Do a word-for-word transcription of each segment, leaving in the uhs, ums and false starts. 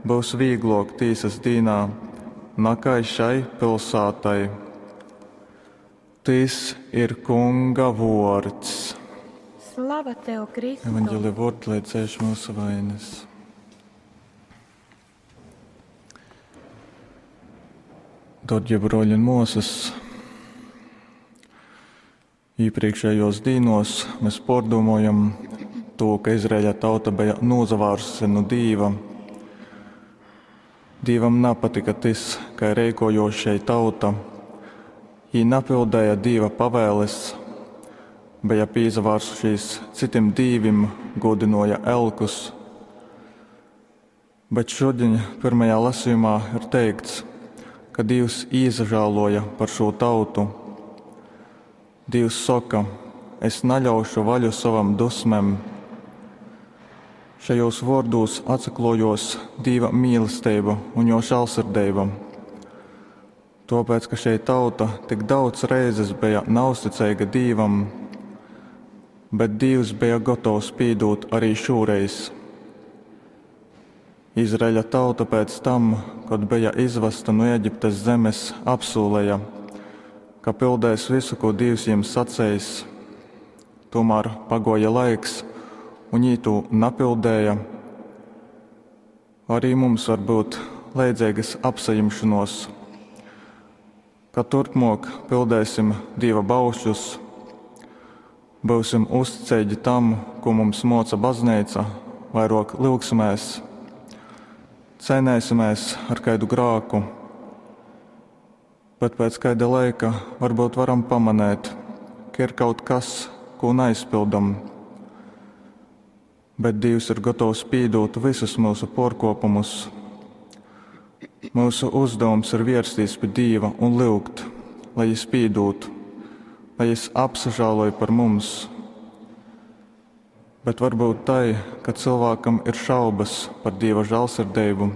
byus vīglōk tīsas dīnā, nakai šai pilsātai. Tys ir Kunga vōrds. Slava tev, Kristu! Evangelija vōrdi, lai dzēš myusu vainas. Darbie broļi un māsas, iepriekšējos dīnos mēs pārdomājam to, ka Izraēļa tauta bija nozavārsusi no Dīva. Dīvam nepatika tas, kā rīkojos šei tauta. Jī napildēja Dīva pavēles, bija pīzavārsušies citim dīvim, godinoja elkus. Bet šodien pirmajā lasījumā ir teikts, ka Dievs īsažāloja par šo tautu. Dievs saka, es naļaušu vaļu savam dusmem. Šajos vārdos atsaklojos Dieva mīlestība un jo žēlsirdība. Tāpēc, ka šei tauta tik daudz reizes bija neuzticīga Dievam, bet Dievs bija gatavs pīdūt arī šoreiz. Izraēļa tauta pēc tam, kad bija izvesta no Eģiptes zemes, apsūlēja, ka pildēs visu, ko Dievs jiem sacējis. Tomēr pagoja laiks, un jī to napildēja. Arī mums var būt leidzīgas apsajimšanos, ka turpmāk pildēsim Dieva baušļus, būsim uzticīgi tam, ko mums moca baznīca, vairāk lūgsimies, cenēsimies ar kādu grāku, bet pēc kāda laika varbūt varam pamanīt, ka ir kaut kas, ko neizpildam. Bet Dievs ir gatavs pīdūt visus mūsu porkopumus. Mūsu uzdevums ir vērsties pie Dieva un lūgt, lai Jis pīdūt, lai Jis apsažāloja par mums. Bet varbūt tai, ka cilvēkam ir šaubas par Dieva žēlsirdību,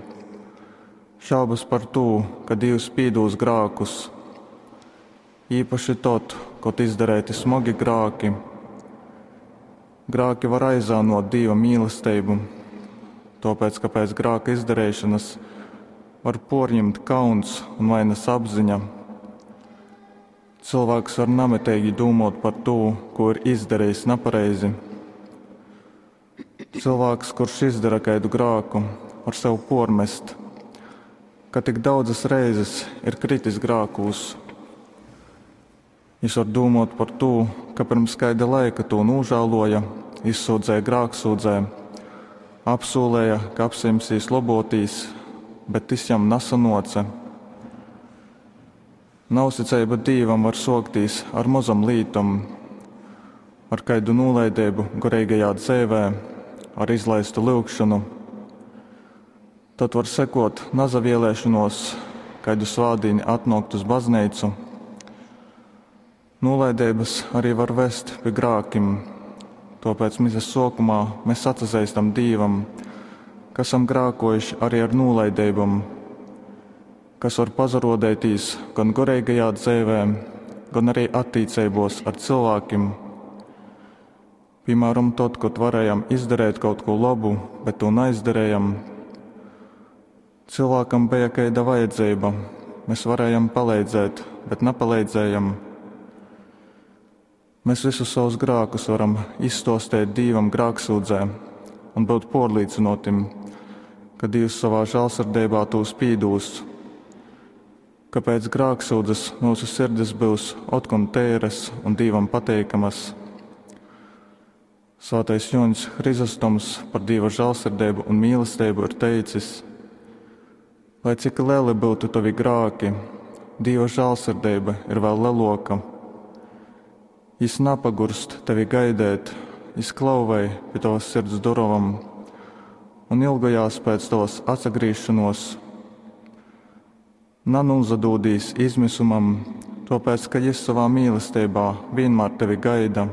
šaubas par to, ka Dievs pīdūs grākus, īpaši tad, kad izdarēti smagi grāki. Grāki var aizānot Dieva mīlestību, tāpēc, ka pēc grāka izdarīšanas var porņemt kauns un vainas apziņa. Cilvēks var nametīgi domāt par to, ko ir izdarījis nepareizi. Cilvēks, kurš izdara kādu grāku, var sev pormest, ka tik daudzas reizes ir kritis grākūs. Jis var domāt par to, ka pirms kāda laika to nožēloja, izsūdzēja grāksūdzē, apsūlēja, ka apsimsīs lobotīs, bet tas jam nesanoce. Nausticība Dievam var soktīs ar mazam lītam, ar kaidu nolaidību garīgajā dzīvē, ar izlaistu lūgšanu. Tad var sekot nazavielēšanos, kaidu svādīni atnākt uz baznīcu. Nolaidības arī var vest pie grākim, tāpēc misas sokumā mēs atsazīstam Dievam, ka esam grākojuši arī ar nolaidībām, kas var pazarodētīs gan garīgajā dzīvē, gan arī attiecībos ar cilvēkiem. Piemēram, tad, kad varējām izdarīt kaut ko labu, bet to neizdarījām. Cilvēkam bija kāda vajadzība, mēs varējām palīdzēt, bet nepalīdzējām. Mēs visus savus grākus varam izstostēt Dievam grāksūdzē un būt porlīdzinotim, ka Dievs savā žēlsirdībā tūs pīdūs, ka pēc grāksūdzes mūsu sirdis būs otkon tēras un Dievam pateikamas. Svētais Joņs Hrizostoms par Dieva žēlsirdību un mīlestību ir teicis: lai cik lieli būtu tavi grāki, Dieva žēlsirdība ir vēl leloka. Jis napagurst tevi gaidēt, jis klauvē pie tavas sirds durvām un ilgojās pēc tavas atsagriešanos. Nanūzadūdīs izmisumam, tāpēc, ka jis savā mīlestībā vienmēr tevi gaida.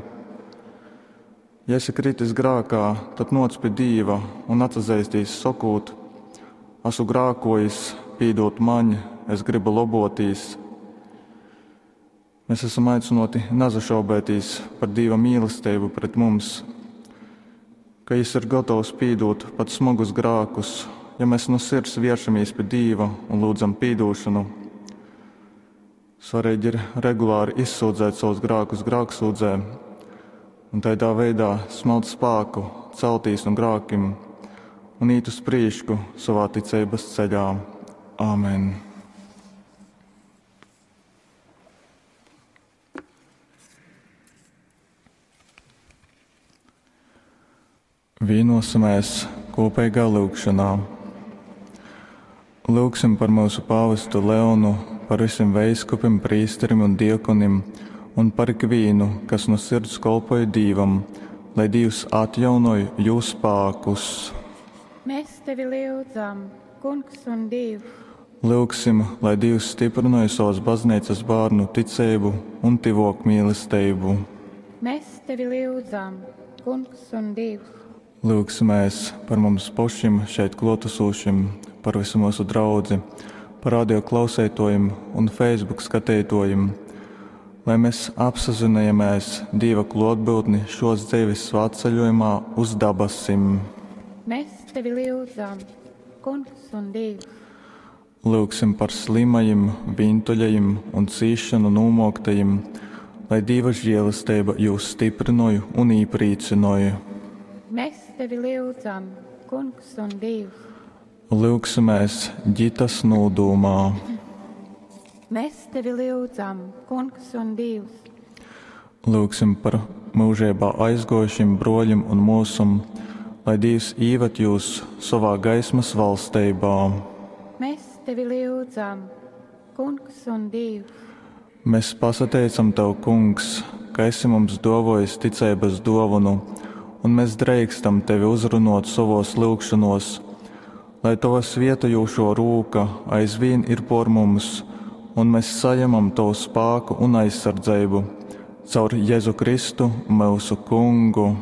Ja esi kritis grākā, tad noc pie Dieva un atsazīstīs sokūt: esmu grākojis, pīdot maņ, es gribu lobotīs. Mēs esam aicināti nazašaubētīs par Dieva mīlestību pret mums, ka Jis ir gatavs pīdot pat smagus grākus, ja mēs nu sirds vēršamies pi Dīva un lūdzam pīdūšanu. Svarīgi ir regulāri izsūdzēt savus grākus grāksūdzē un tādā veidā smelt spēku, celtīs no grākim un īt uz prīšku savā ticeibas ceļā. Āmen! Vienosimies kopīgā lūgšanā. Lūgsim par mūsu pāvestu Leonu, par visiem veiskupim, prīsterim un diekonim un par ikvienu, kas no sirds kolpoja Dīvam, lai Dievs atjaunoj jūs spēkus. Mēs tevi lyudzam, Kungs un Dievs. Lūgsim, lai Dievs stiprināja savas baznīcas bērnu ticību un tivok mīlestību. Mēs tevi lyudzam, Kungs un Dievs. Lūgsimies par mums pašiem šeit klotesošiem, par visu mūsu draudzi, par radio klausētojiem un Facebook skatītojiem, lai mēs apsazinājamies Dieva klotbūtni šos dzīves svētceļojumā uz dabasim. Mēs tevi lyudzam, Kungs un Dievs. Lūgsim par slimajiem, vientuļajiem un cīšanu nūmoktajiem, lai Dieva žēlastība jūs stiprinoja un īprīcinoja. Mēs tevi lyudzam, Kungs un Dievs. Lūgsimies ģitas nūdūmā. Mēs tevi lyudzam, Kungs un Dievs. Lūgsim par mūžībā aizgojušiem broļiem un mūsum, lai Dievs īvet jūs savā gaismas valstībā. Mēs tevi lyudzam, Kungs un Dievs. Mēs pasateicam Tev, Kungs, ka esi mums dovojis ticības dovanu, un mēs dreikstam Tevi uzrunot savos lūgšanos, lai Tava svietojošo rūka aizvien ir por mums, un mēs saņemam Tavu spēku un aizsardzību caur Jēzu Kristu, mūsu Kungu.